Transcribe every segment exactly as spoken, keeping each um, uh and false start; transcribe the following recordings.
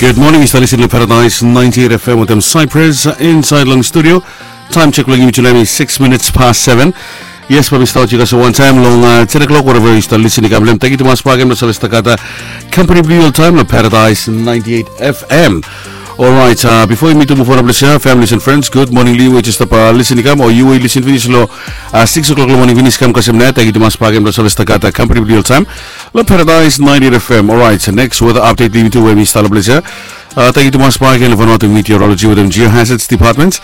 Gud moning, yu stap lisin long Paradise ninety-eight F M wetem Cyprus insaed long studio. Taem jek blong yumi tu nao hem i six minutes past seven. Yes, bae mi stap wit yu guys wantaem long ten o'clock, whatever yu stap lisin i kam long hem. Tangkiu tumas bakegen blong save stap gat kampani blong yu oltaem long Paradise ninety-eight F M. Orait, bifo yumi tu muv on long ples ya, families and friends, gud moning long yu we yu stap lisin i kam, o yu we yu lisin finis long six o'clock long moning finis kam kasem nao. Tangkiu tumas bakegen blong save stap gat kampani blong yu oltaem long Paradise ninety-eight F M. Orait, neks weta apdet blong yumi tu we mi stap long ples ya. Tangkiu tumas bakegen long Vanuatu Meteorology wetem Geohazards Department.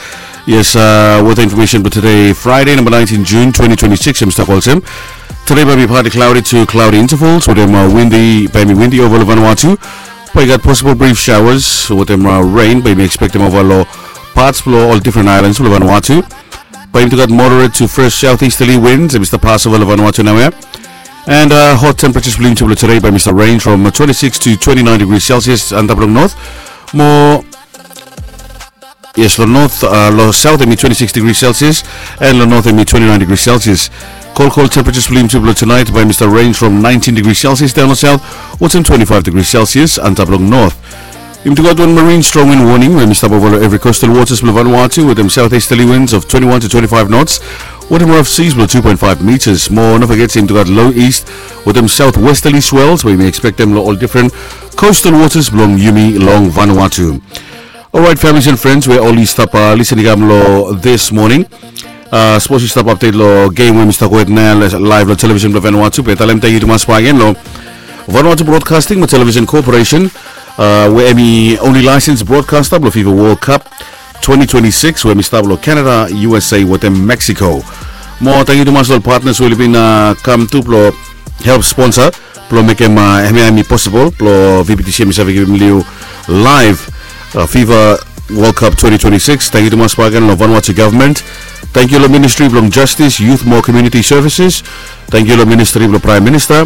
Yes, weta infomesen blong tede Fraede namba nineteen Jun twenty twenty-six hem i stap olsem. Tede bae mi partly cloudy to cloudy intervals wetem windi, bae mi windi ova long Vanuatu. Bae i gat possible brief showers wetem ren bae mi ekspektem ova long parts blong ol different islands blong Vanuatu. Bae yumi tu gat moderate to fresh southeasterly winds hem i stap pas ova long Vanuatu naoia. And hot temperatures blong yumi tu blong tede bae mi stap range from twenty-six to twenty-nine degrees Celsius antap long north. Mo Yes, long north, long south hem i twenty-six degrees Celsius, and long north hem i twenty-nine degrees Celsius. Kol kol temperatures blong yumi tu blong tunaet bae mi stap range from nineteen degrees Celsius daon long south wetem twenty-five degrees Celsius antap long north. Yumi tu gat wan marine strong wind warning we hem i stap ova long evri coastal waters blong Vanuatu wetem southeasterly winds of twenty-one to twenty-five knots wetem rough seas blong two point five meters. Mo no foget se yumi tu gat low east wetem southwesterly swells we yumi ekspektem long ol different coastal waters blong yumi long Vanuatu. Orait, families and friends we oli stap lisin i kam long this morning. Sapos yu stap apdet long gem we mi stap go hed nao laev long televisin blong Vanuatu, bae talem tangkiu tumas bakegen long Vanuatu Broadcasting mo Television Corporation, we hem i only license broadcaster blong FIFA World Cup twenty twenty-six we hem i stap long Canada, U S A wetem Mexico. Mo tangkiu tumas long ol partners we oli bin kam tu blong help sponsor blong mekem hemia hem i posibol blong V B T C hem i save givim long yu laev FIFA World Cup twenty twenty-six. Tangkiu tumas bakegen long Vanuatu Government. Tangkiu long Ministry blong Justice, Youth mo Community Services. Tangkiu long Ministry blong Praem Minista.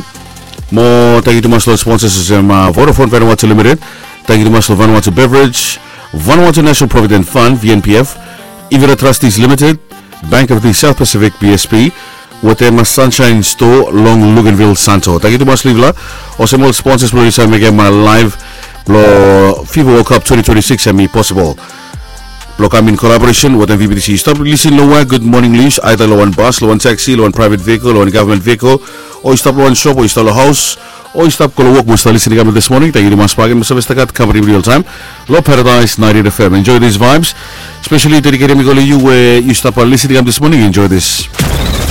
Mo tangkiu tumas long sponsors olsem Vodafone Vanuatu Limited. Tangkiu tumas long Vanuatu Beverage, Vanuatu National Provident Fund, V N P F, Ivira Trustees Limited, Bank of the South Pacific, B S P, wetem Sunshine Store long Luganville, Santo. Tangkiu tumas long yufala olsem ol sponsors blong oli save mekem laev blong FIFA World Cup twenty twenty-six hem i posibol blong kam in collaboration wetem V B T C. Yu stap lisin long wea, gud moning long yu, aeda long wan bas, long wan taxi, long wan private vehicle, long wan government vehicle, o yu stap long wan shop, o yu stap long haos, o yu stap go long wok mo stap lisin i kam long this morning, tangkiu tumas bakegen blong save stap gat kampani blong yu oltaem long Paradise ninety-eight F M. Enjoy these vibes. Specially dedicated mi go long yu we yu stap lisin i kam this morning. Enjoy this.